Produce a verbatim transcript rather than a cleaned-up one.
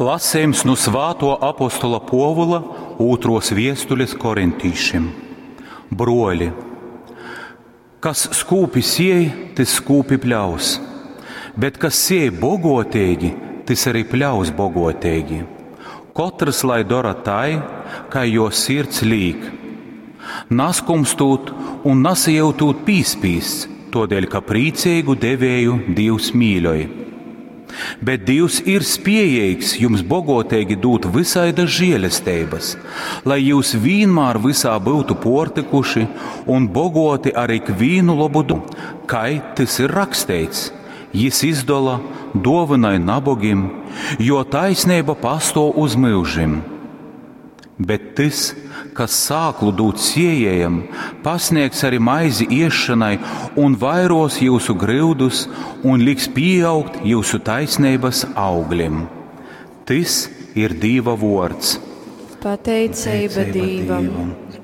Lasījums nu Svāto apostola Pōvula ūtros viestules korintīšim. Broļi, kas skūpi siej, tys skūpi pļaus, bet kas siej bogotīgi, tys arī pļaus bogotīgi. Kotrs lai dora tai, kai jo sirds līk. Naskumstūt un nasajūtūt pīspīsts, todēļ, ka priecīgu devēju Dievs mīļoj. Bet Dievs ir spējīgs jums bogotīgi dūt visaidas žēlestības, lai jūs vienmēr visā būtu portikuši un bogoti ar ikvienu labu darbu, kai tas ir rakstīts. Jis izdola, dāvināja nabogim, jo taisnība pastāv uz mūžim. Bet tas, kas sāklu dod siejējam, pasniegs arī maizi iešanai un vairos jūsu grūdus un liks pieaugt jūsu taisnības augļiem. Tas ir Dieva vārds. Pateicība Dievam! Dievam.